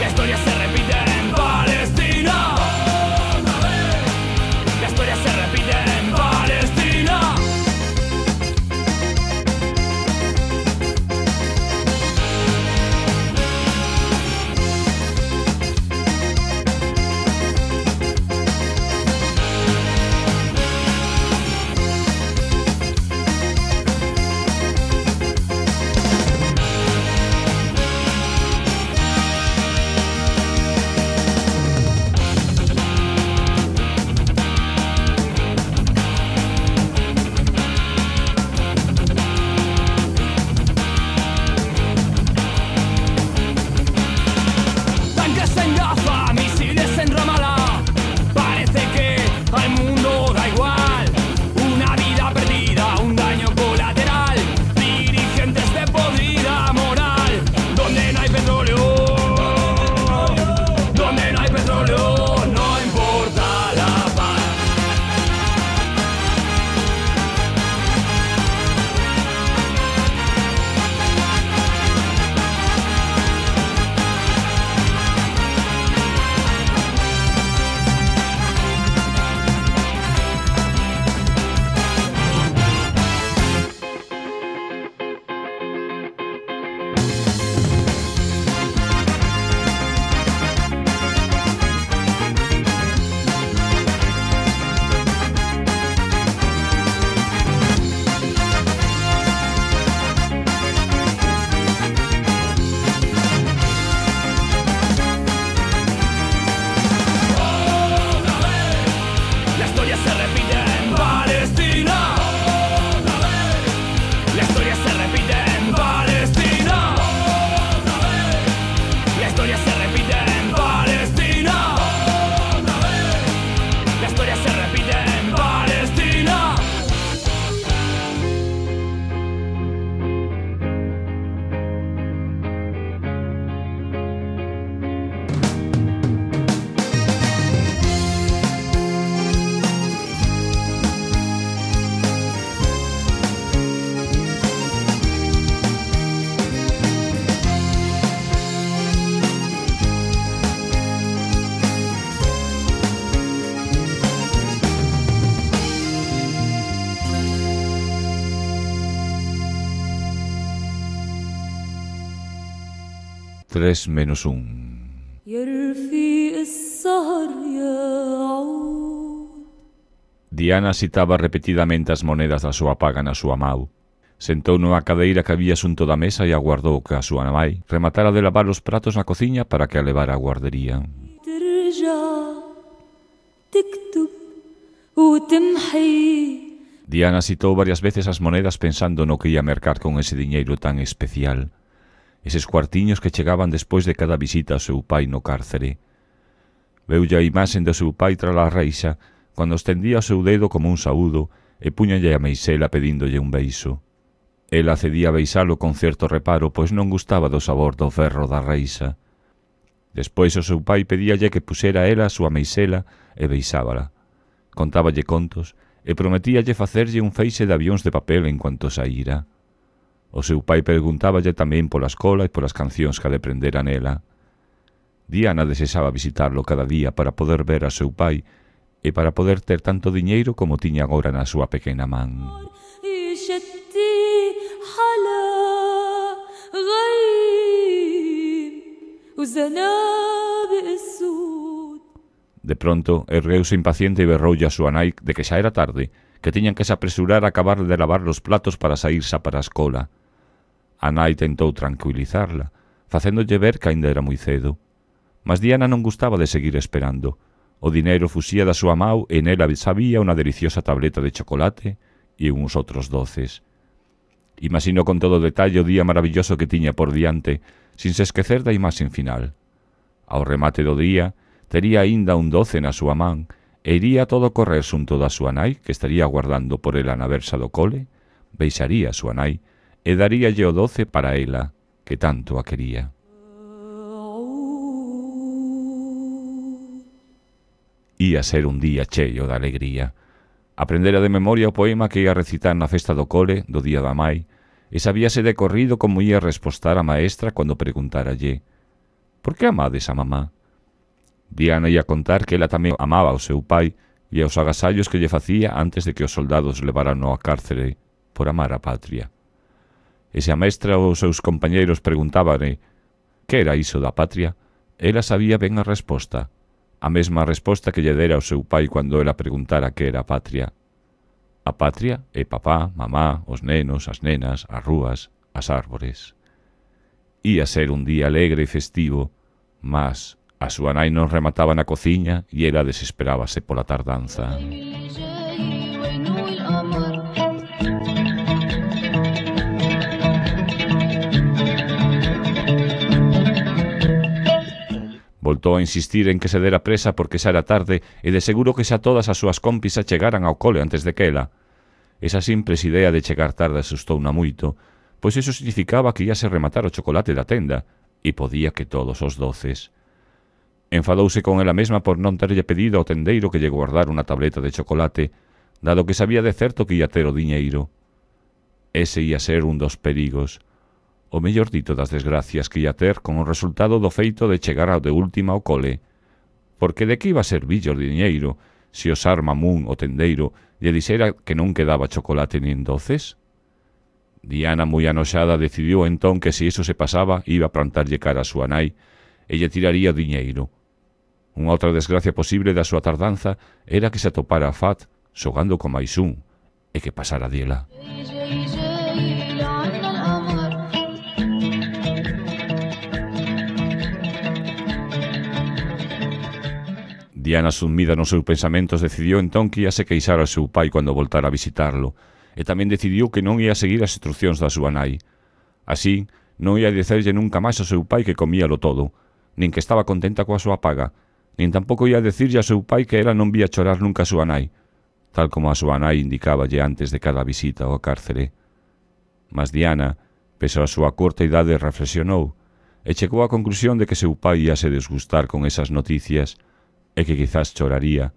La historia se repite en Palestina. La historia se repite en Palestina. Tanques en Gaza, misiles en Ramallah. Parece que al mundo da igual. Una vida perdida, un daño colateral. Dirigentes de podrida moral. Donde no hay petróleo, donde no hay petróleo, no importa la paz. La historia se repite en Palestina. La historia se repite en Palestina. La historia se repite en Palestina. La historia se repite en Palestina. Tres menos un. يا رفيق السهر يا عود. Diana citaba repetidamente as monedas da súa paga na súa mau. Sentou nunha cadeira que había xunto da mesa e aguardou que a súa nai rematara de lavar os pratos na cociña para que a levara á guardería. ترجع تكتب وتمحي. Diana citou varias veces as monedas pensando no que ia mercar con ese diñeiro tan especial. Eses cuartiños que chegaban despois de cada visita ao seu pai no cárcere. Veulle a imaxen do seu pai tras a reixa, cando estendía o seu dedo como un saúdo e puñalle a meixela pedíndolle un beiso. Ela cedía a beisalo con certo reparo, pois non gustaba do sabor do ferro da reixa. Despois o seu pai pedíalle que pusera ela a súa meixela e beisábala. Contáballe contos e prometíalle facerlle un feixe de avións de papel en cuanto saíra. O seu pai preguntáballe tamén pola escola e polas cancións que aprendera nela. Diana desexaba visitarlo cada día para poder ver a seu pai e para poder ter tanto diñeiro como tiña agora na súa pequena man. De pronto, ergueuse impaciente e berroulle a súa nai de que xa era tarde, que tiñan que se apresurar a acabar de lavar os platos para saírse para a escola. A nai tentou tranquilizarla, facéndolle ver que aínda era moi cedo. Mas Diana non gustaba de seguir esperando. O dineiro fuxía da súa mau e nela sabía unha deliciosa tableta de chocolate e uns outros doces. Imaginó con todo detalle o día maravilloso que tiña por diante, sin se esquecer da imaxen final. Ao remate do día, tería aínda un doce na súa man e iría todo correr xunto da súa nai, que estaría aguardando por ela na versa do cole, beixaría a súa nai e daríalle o doce para ela, que tanto a quería. Ía ser un día cheio de alegría. Aprendera de memoria o poema que ia recitar na festa do cole do día da mai e sabíase de corrido como ia respostar a maestra cando preguntáralle: «Por que amades a mamá?» Diana ia contar que ela tamén amaba ao seu pai e aos agasallos que lle facía antes de que os soldados levaran ao cárcere por amar a patria. E se a maestra ou os seus compañeiros preguntábane que era iso da patria, ela sabía ben a resposta, a mesma resposta que lle dera ao seu pai cando ela preguntara que era a patria. A patria é papá, mamá, os nenos, as nenas, as rúas, as árbores. Ía ser un día alegre e festivo, mas a súa nai non remataba na cociña e ela desesperábase pola tardanza. Voltou a insistir en que se dera presa porque xa era tarde e de seguro que xa todas as súas compis a chegaran ao cole antes de que ela. Esa simples idea de chegar tarde asustouna moito, pois iso significaba que íase rematar o chocolate da tenda e podía que todos os doces. Enfadouse con ela mesma por non terlle pedido ao tendeiro que lle guardara unha tableta de chocolate, dado que sabía de certo que ia ter o diñeiro. Ese ia ser un dos perigos, o mellor dito das desgracias que ia ter con o resultado do feito de chegar ao de última ao cole, porque de que iba a servir o diñeiro se o Sar Mamún, o tendeiro, lle dixera que non quedaba chocolate nin doces? Diana, moi anoxada, decidiu entón que se iso se pasaba iba a plantarlle cara a súa nai e lle tiraría o diñeiro. Unha outra desgracia posible da súa tardanza era que se atopara a Fat xogando con máis un e que pasara diela. Diana, sumida nos seus pensamentos, decidiu entón que ia se queixar ao seu pai cando voltara a visitarlo, e tamén decidiu que non ia seguir as instruccións da súa nai. Así, non ia dicerlle nunca máis ao seu pai que comíalo todo, nin que estaba contenta coa súa paga, nin tampouco ia dicirlle ao seu pai que ela non vía chorar nunca a súa nai, tal como a súa nai indicáballe antes de cada visita ao cárcere. Mas Diana, pese a súa curta idade, reflexionou e chegou á conclusión de que seu pai ia se desgustar con esas noticias e que quizás choraría,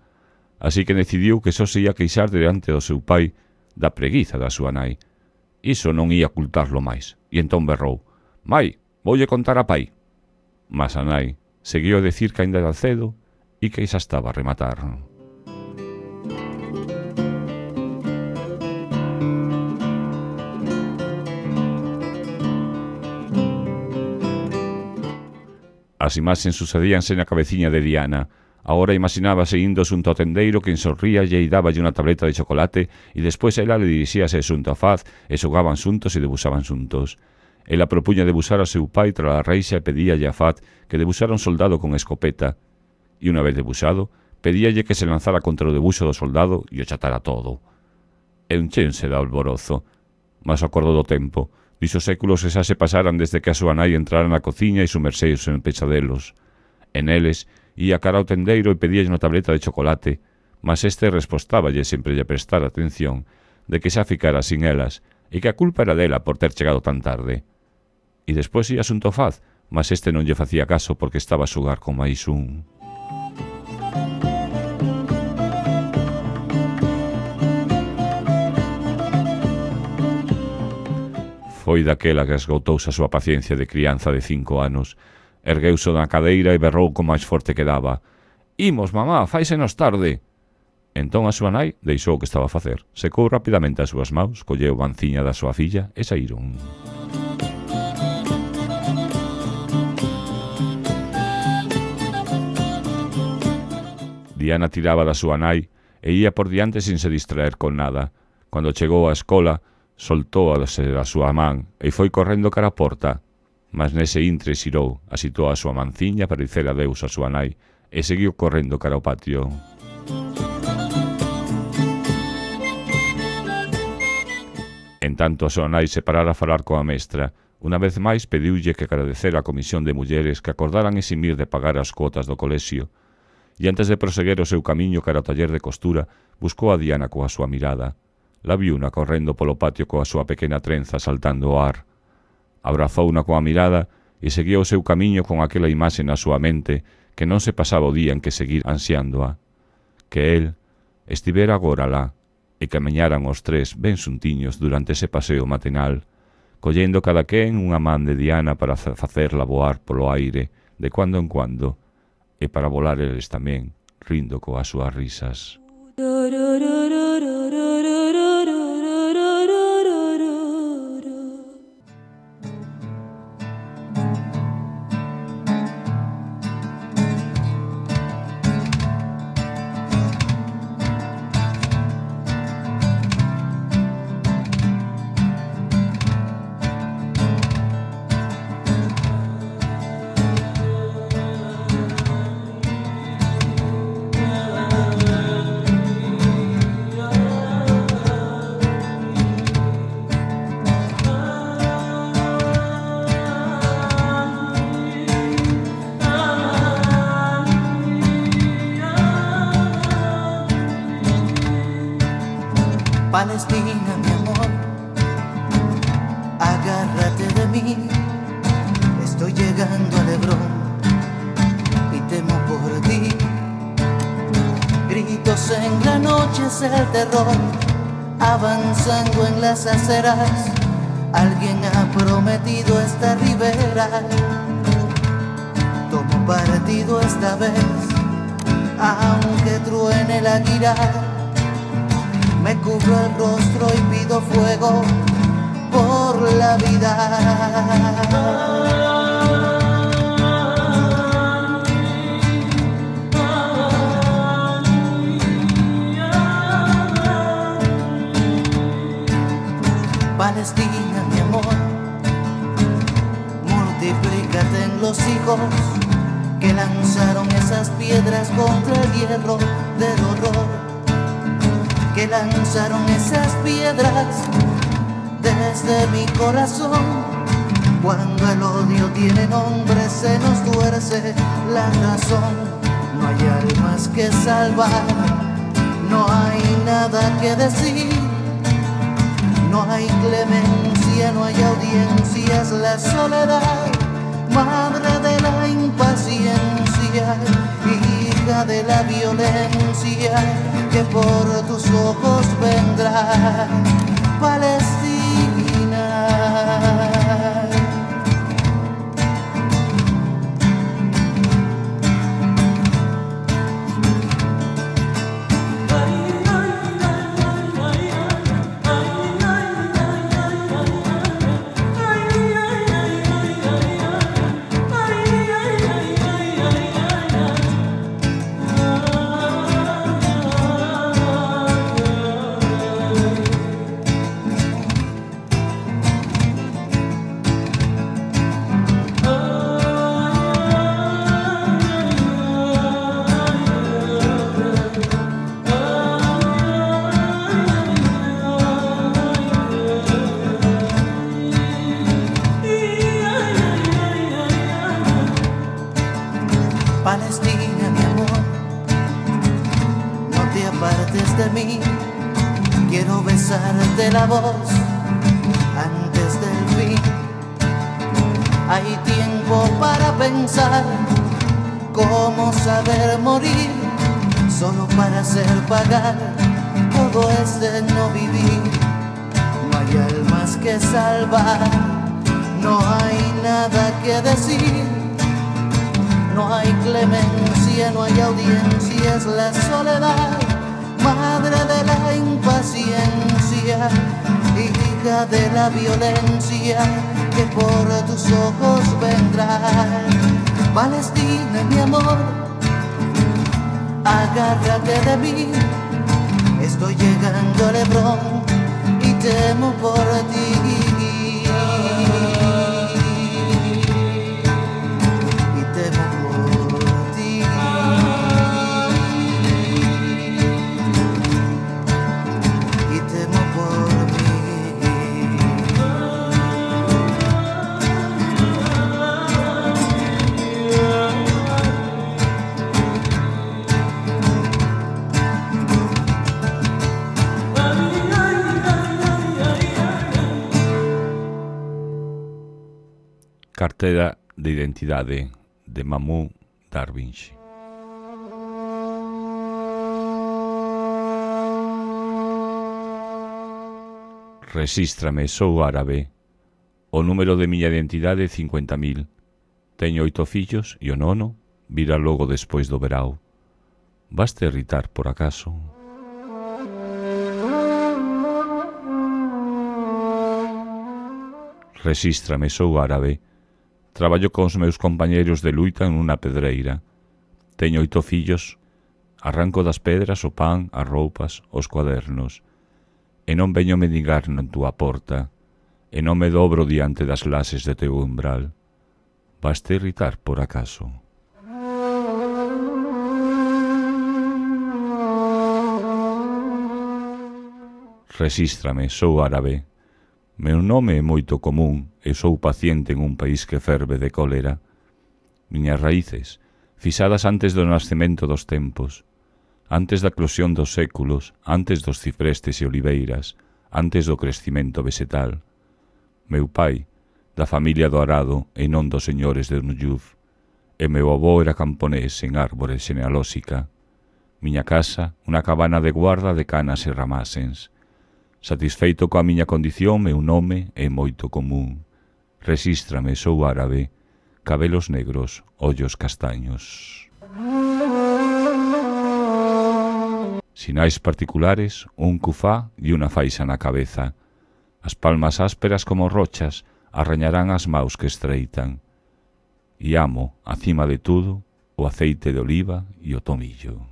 así que decidiu que só se ia queixar diante do seu pai da preguiza da súa nai. Iso non ia ocultarlo máis, e entón berrou: «Mai, voulle contar a pai». Mas a nai seguiu a decir que ainda era cedo e que xa estaba a rematar. As imaxes sucedíanse na cabeciña de Diana. Agora imaxinábase indo xunto ao tendeiro que sorríalle e dáballe unha tableta de chocolate e despois ela le dirixíase xunto a Faz e xogaban xuntos e debuxaban xuntos. Ela propuña debuxar ao seu pai tras a reixa e pedíalle a Faz que debuxara un soldado con escopeta e unha vez debuxado pedíalle que se lanzara contra o debuxo do soldado e o chatara todo. E unchense da alborozo, mas acordo do tempo, dixo séculos que xa se pasaran desde que a súa nai entrara na cociña e sumerseuse en pechadelos. En eles, ia cara ao tendeiro e pedíalle unha tableta de chocolate, mas este respostáballe sempre lle prestar atención de que xa ficara sin elas e que a culpa era dela por ter chegado tan tarde. E despois ia xunto ao Faz, mas este non lle facía caso porque estaba a xogar con máis un. Foi daquela que esgotouse a súa paciencia de crianza de cinco anos. Ergueuse na cadeira e berrou con máis forte que daba: «Imos, mamá, fáisenos tarde!» Entón a súa nai deixou o que estaba a facer, secou rapidamente as súas maus, colleu a manciña da súa filla e saíron. Diana tiraba da súa nai e ía por diante sin se distraer con nada. Cando chegou á escola, soltou a da súa man e foi correndo cara a porta. Mas nese intre xirou, asitou a súa manciña para dicer adeus a súa nai e seguiu correndo cara ao patio. En tanto a súa nai se parara a falar coa mestra, unha vez máis pediulle que agradecera a comisión de mulleres que acordaran eximir de pagar as cuotas do colexio, e antes de proseguir o seu camiño cara ao taller de costura, buscou a Diana coa súa mirada. La viuna correndo polo patio coa súa pequena trenza saltando o ar. Abrazouna coa mirada e seguía o seu camiño con aquela imaxe na súa mente que non se pasaba o día en que seguir ansiándoa. Que el estivera agora lá e camiñaran os tres ben xuntiños durante ese paseo matinal, collendo cada quen unha man de Diana para facerla voar polo aire de cuando en cuando e para volar eles tamén, rindo coas súas risas. Palestina, mi amor, agárrate de mí. Estoy llegando al Hebrón y temo por ti. Gritos en la noche es el terror, avanzando en las aceras. Alguien ha prometido esta ribera. Tomo partido esta vez, aunque truene la guira. Me cubro el rostro y pido fuego por la vida. Palestina, mi amor, multiplícate en los hijos que lanzaron esas piedras contra el hierro del horror. Que lanzaron esas piedras desde mi corazón. Cuando el odio tiene nombre se nos tuerce la razón. No hay almas que salvar, no hay nada que decir. No hay clemencia, no hay audiencia, es la soledad, madre de la impaciencia, hija de la violencia, que por tus ojos vendrá Palestina. Palestina, mi amor, no te apartes de mí. Quiero besarte la voz antes del fin. Hay tiempo para pensar cómo saber morir, solo para hacer pagar todo este no vivir. No hay almas que salvar, no hay nada que decir. No hay clemencia, no hay audiencia, es la soledad, madre de la impaciencia, hija de la violencia, que por tus ojos vendrá. Palestina, mi amor, agárrate de mí. Estoy llegando al Hebrón y temo por ti. Cartera de identidade de Mahmoud Darwish. Resístrame, sou árabe. O número de miña identidade é cincuenta mil. Teño oito fillos e o nono virá logo despois do verao. Vaste irritar por acaso? Resístrame, sou árabe. Traballo cos meus compañeiros de luita en unha pedreira. Teño oito fillos. Arranco das pedras o pan, as roupas, os cuadernos. E non veño mendigar na túa porta. E non me dobro diante das lases de teu umbral. Vaste irritar por acaso? Resístrame, sou árabe. Meu nome é moito común e sou paciente en un país que ferve de cólera. Miñas raíces, fixadas antes do nascemento dos tempos, antes da eclosión dos séculos, antes dos ciprestes e oliveiras, antes do crecimento vegetal. Meu pai, da familia do arado e non dos señores de Nuyuf, e meu avó era camponés en árbore xenealóxica. Miña casa, unha cabana de guarda de canas e ramasens. Satisfeito coa miña condición, meu nome é moito común. Resístrame, sou árabe, cabelos negros, ollos castaños. Sinais particulares, un cufá e unha faixa na cabeza. As palmas ásperas como rochas arrañarán as maus que estreitan. E amo, acima de tudo, o aceite de oliva e o tomillo.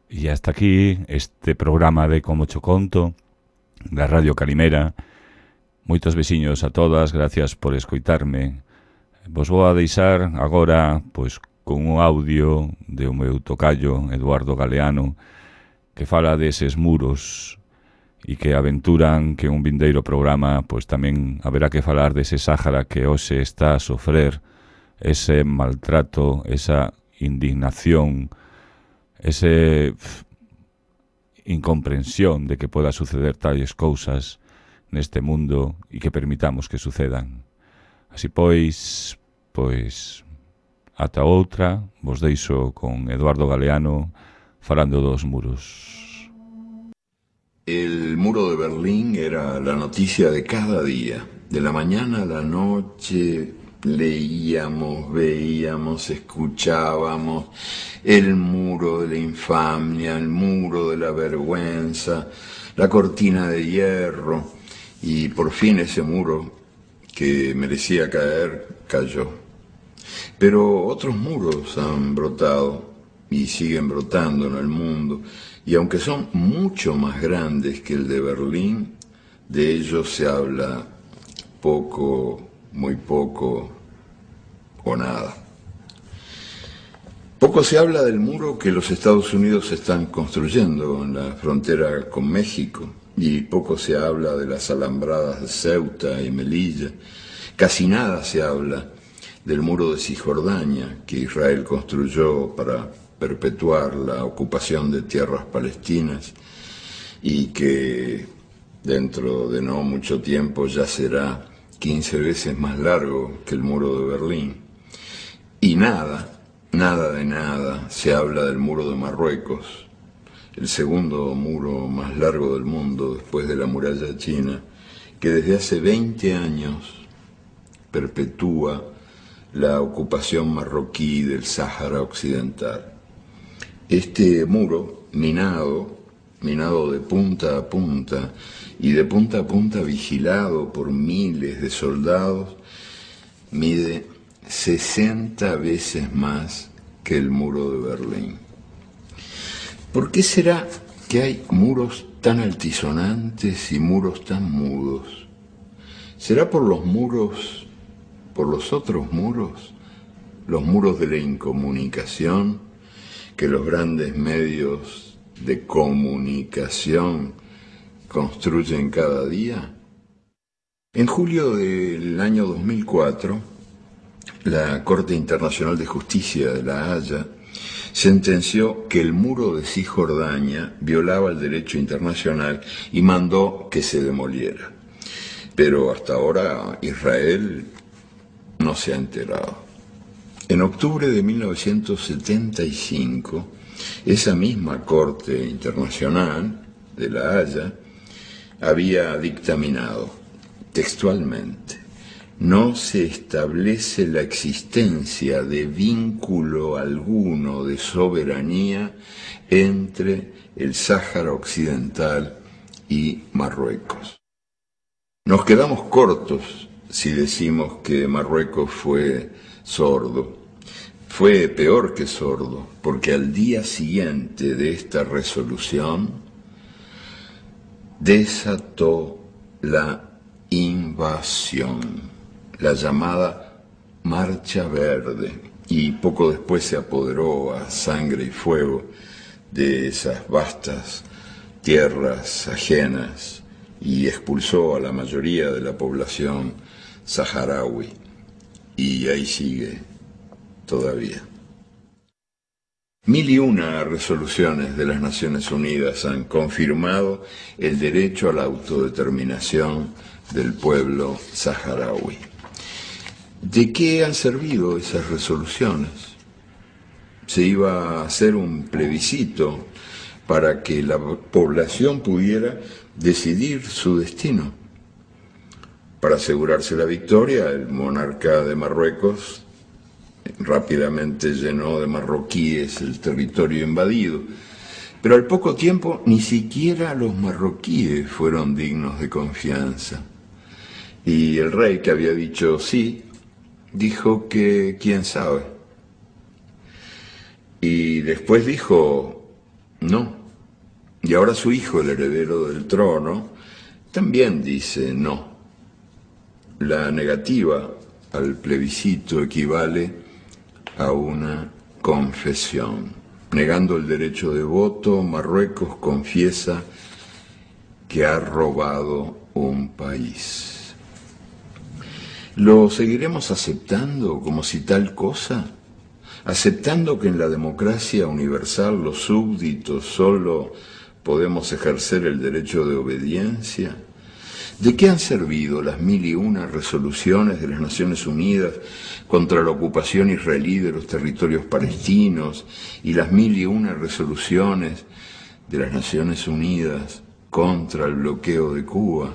E hasta aquí este programa de Como Cho Conto da Radio Calimera. Moitos veciños a todas, gracias por escoitarme. Vos vou a deixar agora pois con un audio de o meu tocayo Eduardo Galeano que fala deses muros e que aventuran que un vindeiro programa pois tamén haberá que falar dese Sáhara que hoxe está a sofrer ese maltrato, esa indignación, ese pff, incomprensión de que poda suceder tales cousas neste mundo e que permitamos que sucedan. Así pois, pois, ata outra, vos deixo con Eduardo Galeano falando dos muros. El muro de Berlín era la noticia de cada día. De la mañana a la noche leíamos, veíamos, escuchábamos el muro de la infamia, el muro de la vergüenza, la cortina de hierro, y por fin ese muro que merecía caer, cayó. Pero otros muros han brotado y siguen brotando en el mundo, y aunque son mucho más grandes que el de Berlín, de ellos se habla poco, muy poco o nada. Poco se habla del muro que los Estados Unidos están construyendo en la frontera con México, y poco se habla de las alambradas de Ceuta y Melilla. Casi nada se habla del muro de Cisjordania que Israel construyó para perpetuar la ocupación de tierras palestinas y que dentro de no mucho tiempo ya será quince veces más largo que el muro de Berlín. Y nada, nada de nada se habla del muro de Marruecos, el segundo muro más largo del mundo después de la muralla china, que desde hace veinte años perpetúa la ocupación marroquí del Sáhara Occidental. Este muro, minado, minado de punta a punta y de punta a punta vigilado por miles de soldados, mide sesenta veces más que el muro de Berlín. ¿Por qué será que hay muros tan altisonantes y muros tan mudos? ¿Será por los muros, por los otros muros, los muros de la incomunicación que los grandes medios de comunicación construyen cada día? En julio del año dos mil cuatro, la Corte Internacional de Justicia de La Haya sentenció que el muro de Cisjordania violaba el derecho internacional y mandó que se demoliera. Pero hasta ahora Israel no se ha enterado. En octubre de mil novecientos setenta y cinco, esa misma Corte Internacional de La Haya había dictaminado textualmente: no se establece la existencia de vínculo alguno de soberanía entre el Sáhara Occidental y Marruecos. Nos quedamos cortos si decimos que Marruecos fue sordo. Fue peor que sordo, porque al día siguiente de esta resolución desató la invasión, la llamada Marcha Verde, y poco después se apoderó a sangre y fuego de esas vastas tierras ajenas y expulsó a la mayoría de la población saharaui, y ahí sigue todavía. Mil y una resoluciones de las Naciones Unidas han confirmado el derecho a la autodeterminación del pueblo saharaui. ¿De qué han servido esas resoluciones? Se iba a hacer un plebiscito para que la población pudiera decidir su destino. Para asegurarse la victoria, el monarca de Marruecos rápidamente llenó de marroquíes el territorio invadido, pero al poco tiempo ni siquiera los marroquíes fueron dignos de confianza. Y el rey, que había dicho sí, dijo que quién sabe. Y después dijo no. Y ahora su hijo, el heredero del trono, también dice no. La negativa al plebiscito equivale a una confesión. Negando el derecho de voto, Marruecos confiesa que ha robado un país. ¿Lo seguiremos aceptando como si tal cosa? ¿Aceptando que en la democracia universal los súbditos solo podemos ejercer el derecho de obediencia? ¿De qué han servido las mil y una resoluciones de las Naciones Unidas contra la ocupación israelí de los territorios palestinos y las mil y una resoluciones de las Naciones Unidas contra el bloqueo de Cuba?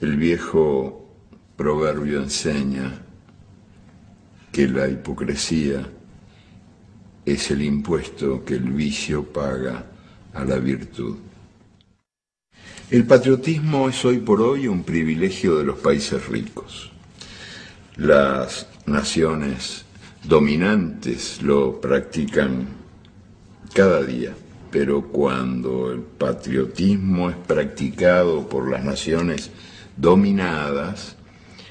El viejo proverbio enseña que la hipocresía es el impuesto que el vicio paga a la virtud. El patriotismo es hoy por hoy un privilegio de los países ricos. Las naciones dominantes lo practican cada día, pero cuando el patriotismo es practicado por las naciones dominadas,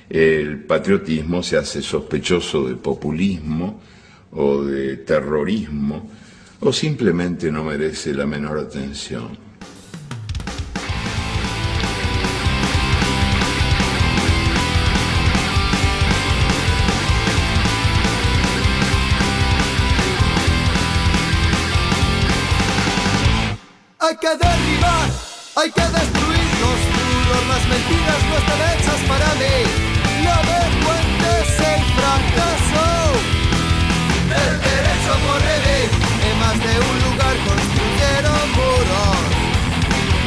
el patriotismo se hace sospechoso de populismo o de terrorismo, o simplemente no merece la menor atención. Hay que derribar, hay que destruir los muros, las mentiras no están hechas para mí. La vergüenza es el fracaso, el derecho a morir. En más de un lugar construyeron muros,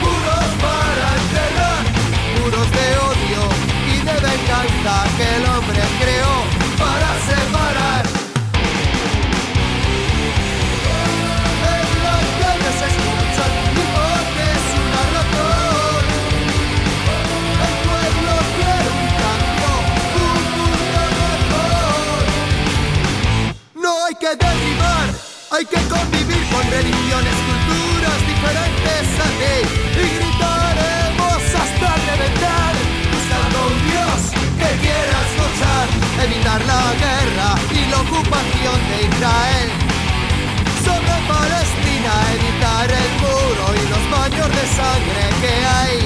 muros para enterrar, muros de odio y de venganza que el hombre creó para separar. En la calle se escuchan es una razón. El pueblo quiere un cambio, un mundo mejor. No hay que derribar, hay que convivir con religiones, culturas diferentes a ti. Y gritaremos hasta reventar, buscando un Dios que quieras luchar. Evitar la guerra y la ocupación de Israel. Sobre Palestina, evitar el muro y los baños de sangre que hay.